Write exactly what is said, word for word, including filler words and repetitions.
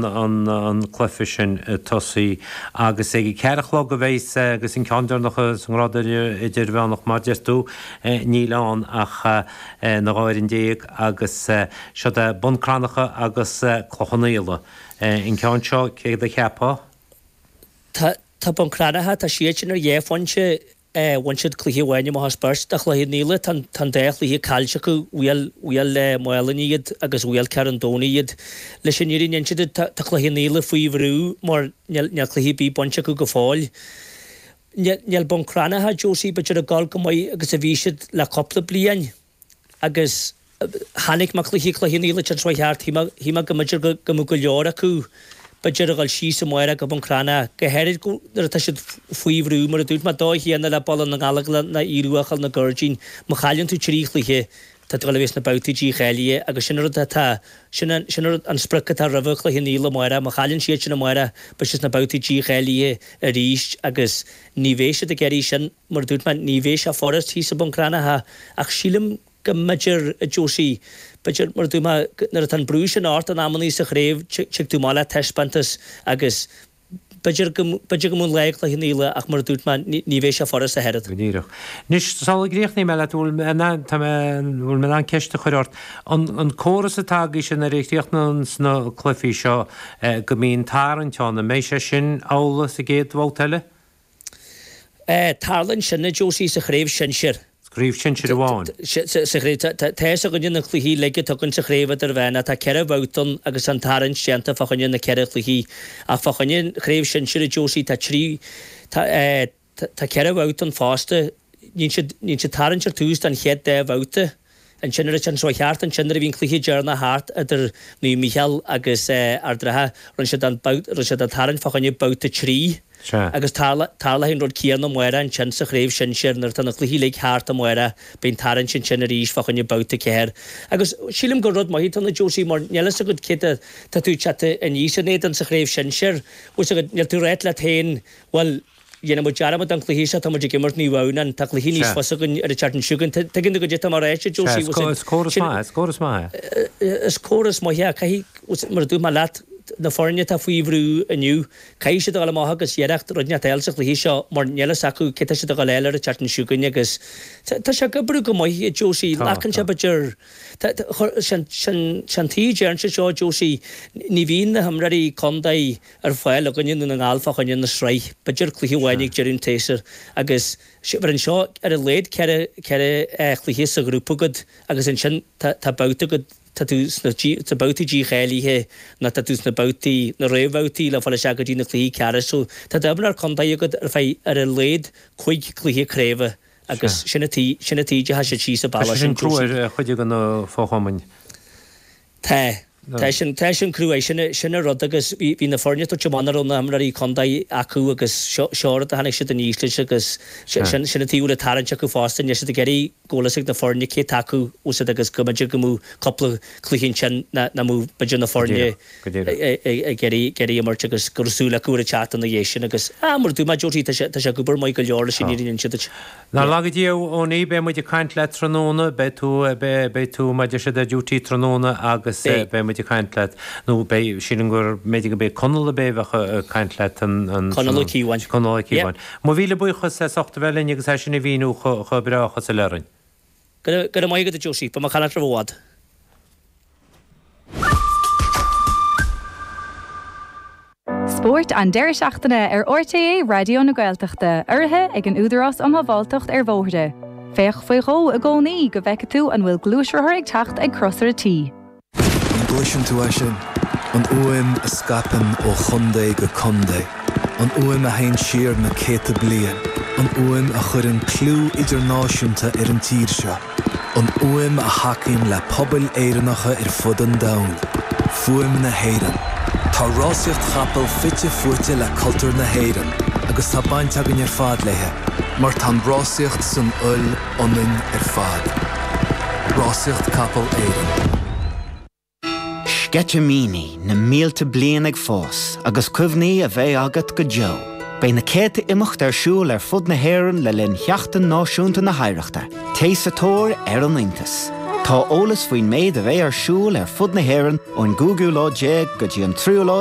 an cluiche sin tosaí agus ag a ceathair a chlog a bheas agus an ceann deireanach sa ngrád idirmheánach mar deir tú níl ann ach na dhá fhoireann déag agus siod é Bun Cranncha agus Cloich Cheann Fhaola. An ceann seo céard a cheapfá? Tá Bun Cranncha, tá siad sin ar dhá phointe Bhain siad cluiche amháin amach as beirt do Chloich Cheann Fhaola. Tá an dá chluiche caillte acu, bhuail Maigh Cuilinn iad agus bhuail Carn an Domhnaigh iad. Leis an fhírinne a inse duit, tá Cloich Cheann Fhaola faoi bhrú mar níl cluiche ar bith bainte acu go fóill. Níl Bun Cranncha, Josie, b'fhéidir ag dul chomh maith agus a bhí siad le cúpla bliain agus chonaic mé cluiche Chloich Cheann Fhaola an tseachtain seo thart, shíl mé go mb'fhéidir go mbeadh go leor acu b'fhéidir a dhul síos amárach go Bun Cranncha, go háirid nuair atá siad faoi bhrú, mar a dúirt mé, dóigh chéanna le Baile na nGallóglach ná Aodh Ruadh a dhul na Gairdín, má chailleann tú trí chluiche, tá tú ag dul a bheith sna babhtaí dícháilithe agus sin an rud atá, sin an, sin an rud, an sprioc atá roimhe Chloich Cheann Fhaola amárach, má chailleann siad sin amárach, beidh siad sna babhtaí dícháilithe arís agus ní bheidh siad ag iarraidh sin, mar a dúirt mé, ní bheidh sé furast thíos i Bun Cranncha ach sílim go mb'fhéidir, a Josie, b'fhéidir, mar a dúirt mé, nuair atá an brú sin ort in amannaí sa chraobh, tig tú amach le taispeántas agus b'fhéidir go, b'fhéidir go mbeadh an lá ag Cloich Cheann Fhaola ach mar a dúirt mé, ní, ní bheidh sé furast ach oiread. Go díreach. Anois, sula gcríochnaí mé leat, bhfuil mé in ann, tá mé, bhfuil mé in ann ceist a chur ort. An, an córas atá agaibhse nuair a chríochnaíonns na cluichí seo, go mbíonn tarraingt ann, an mbeidh sé sin amhlaidh sa gcéad bhabhta eile? Tarlaíonn sin, a Josie, sa chraobh shinsir. Craobh shinsir amháin. Sa chraobh, tá fhios againne na cluichí uilig atá againn sa chraobh idirmheánach, tá ceithre bhabhta ann agus tá an tarraingt déanta fá choinne na ceithre chluichí. Ach fá choinne an chraobh shinsir, a Josie, tá trí, tá, tá ceithre bhabhta ann fosta. Níonn siad, níonn siad tarraingt ar tús don chéad dá bhabhta. Ansin ar an tseachtain seo thart, ansin nuair a bhí an cluiche deireanach thart idir Naomh Mícheál agus Ard an Rátha, rinne siad an babhta, rinne siad an tarraingt fá choinne babhta trí. Sea. Agus tarlóidh an rud céanna amárach ansin sa chraobh shinsir nuair atá na cluichí uilig thart amárach, beidh an tarraingt ansin arís fá choinne babhta ceathair. Agus sílim gur rud maith atá ann a Josie mar níl fhios agat cé tá tú ag teacht aníos in éadan sa chraobh shinsir. Bhfuil fhios agat, níl tú ag ráit leat féin, bhuel, dhéanfaidh muid dearmad den chluiche seo, tá muid ag imirt Naomh Adhamhnáin, tá cluiche níos Sea. fusa againn ar an tseachtain seo chugainn. Tuigeann tú goidé atá mé a ráit, a Sea, Josie, is is córas maith, is córas maith é. Is córas maith é. Caithfidh, mar a dúirt mé leat, na foirne atá faoi bhrú inniu, caithfidh siad a dhul amach agus iarracht rud inteacht a fháil sa chluiche seo mar níl fhios acu cé tá siad a dhul a fháil ar an tseachtain seo chugainn agus tá sé ag oibriú go maith, a Josie. Tá, Glacann sé tá. b'fhéidir, tá, sin, sin, sin tuige a deireann siad seo, a Josie, ní bhíonn na himreoirí contae ar fáil againne i nDún na nGall fá choinne na sraith, b'fhéidir cluiche amháin Sea. ag deireadh an tséasúir agus mar anseo ar a laghad ceithre, ceithre chluiche sa ghrúpa agat agus ansin tá, tá babhta agat, tá tú sna sna babhtaí dícháilithe nó tá tú sna babhtaí, na réamhbhabhtaí le fáil isteach go dtí na cluichí ceannais. So tá d'imreoir contae agat ar feadh ar a laghad cúig chluiche craoibhe agus Sea. sin an tuige, sin an tuige a tha siad síos an Tá bealach sé sin sin, crua Josie. ar chuid de na fo-chumainn. Tá. Tá sin, tá sin crua, sin, sin an rud agus bhí, bhí na foirne ag tabhairt amach nach raibh na himreoirí contae acu agus seo, seo rud a tháinig siad aníos leis agus Sea. sin, sin an tuige a bhfuil an tarraingt acu fosta, níl siad ag iarraidh go bhfuil fhios ag na foirne cé atá acu úsáid agus go mb'fhéidir go mbeadh cúpla cluiche ansin nach mbeadh b'fhéidir na Go foirne díreach, go díreach. ag iarraidh ag iarraidh imirt agus go raibh súil acu ar an tseachtain ina dhiaidh sin agus ah mar a dúirt mé Josie tá sé tá sé ag obair maith go leor leis an Tá. fhírinne a inse duit. Nár Yeah. laga Dia a Owenie, beidh muid ag caint leat tráthnóna, beidh tú beidh beidh tú mar a deir siad ar duty tráthnóna agus Beidh. beidh muid ag caint leat nó beidh sílim gur b'fhéidir go mbeidh Conall a bheidh ag caint leat an an Conall Ó tráthnóna. Cíobháin. Conall Ó Yeah. Cíobháin. Mo mhíle buíochas as ucht a bheith linn agus é sin a mhíniú chomh breá chomh soiléir orainn. Go raibh maith agat a Josie, beidh mé ag fanacht roimh i bhfad. Spórt an deireadh seachtaine ar RTÉ Raidió na Gaeltachta, urraithe ag an Údarás um Shábháilteacht ar Bhóithre. Féach faoi dhó i gcónaí go bhfeice tú an bhfuil gluaisrothar ag teacht ag crosaire T. An gcloiseann tú é sin? An fhuaim a scaipeann ó chontae go contae. An fhuaim a théann siar na céadta bliain, an fhuaim a chuireann clú idirnáisiúnta ar an tír seo. An fhuaim a thacaíonn le pobail Éireannacha ar fud an domhain. Fuaim na hÉireann. Tá rásaíocht chapall fite fuaite le cultúr na hÉireann agus tá baint againn ar fad léi, mar tá an rásaíocht san fhuil ionainn ar fad. Rásaíocht Capall Éireann. Sceitimíní na mílte bliain ag fás agus cuimhní a bheidh agat go deo. Beidh na céadta imeacht ar siúl ar fud na hÉireann le linn Sheachtain Náisiúnta na hOidhreachta, Téigh sa tóir ar an iontas. Tá eolas faoin méid a bheidh ar siúl ar fud na hÉireann ón gcúigiú lá déag go dtí an tríú lá